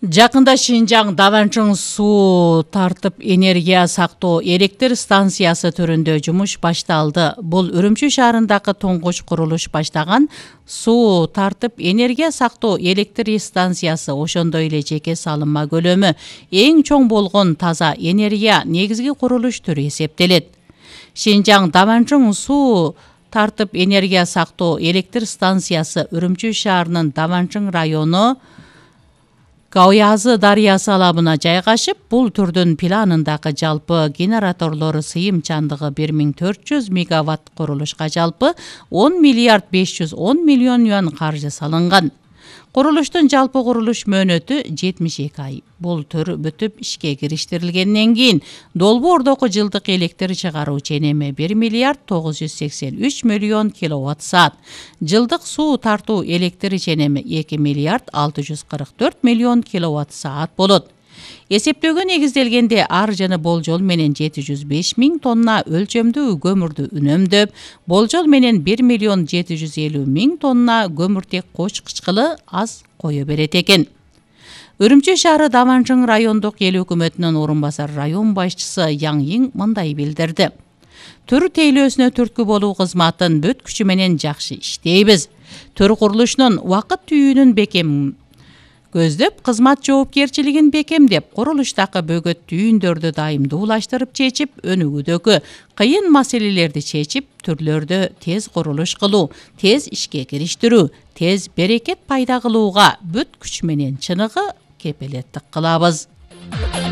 Жакында Шинжаң Даванчың суу тартып энергия сактоо электр станциясы түрүндө жумуш башталды. Бул Үрүмчү шаарындагы туңгуч курулуш баштаган суу тартып энергия сактоо электр станциясы, ошондой эле жеке салынма көлөмү эң чоң болгон таза энергия негизги курулуш түрү эсептелет. Шинжаң Даванчың суу тартып энергия сактоо электр станциясы Үрүмчү шаарынын Даванчың району Кауязы дарыясы алабына жайгашып, бул түрдүн планындагы жалпы генераторлору сыйымчандыгы 1400 мегаватт курулушка жалпы 10 миллиард 510 миллион юан каржы салынган. Курулуштун жалпы курулуш мөөнөтү 72 ай. Бул төр бүтүп ишке кириштирилгенден кийин долбоордогу жылдык электр чыгаруу ченеми 1 миллиард 983 миллион киловатт саат. Жылдык суу тартуу электр ченеми 2 миллиард 644 миллион киловатт саат болот. Эсептөөгө негизделгенде ар жаны болжол менен 705 миң тонна өлчөмдүү көмүрдү үнөмдөп, болжол менен 1 миллион 750 миң тонна көмүртек кочкучкылы аз кое берет экен. Үрүмчү шаары Даванчың райондук эл өкмөтүнүн орун басар район башчысы Яң Йиң мындай билдирди. Төр тейлөөсүнө түрткү болуу кызматын бүт күчү менен жакшы иштейбиз. Төр курулушунун убакыт түйүүнүн бекем көздөп, кызмат жоопкерчилигин бекемдеп, курулуштагы бөгөт түйүндөрдү дайымдуулаштырып чечип, өнүгүүдөгү кыйын маселелерди чечип, түрлөрдө тез курулуш кылуу, тез ишке кириштирүү, тез берекет пайда кылууга бүт күч менен чыныгы кепилеттик кылабыз.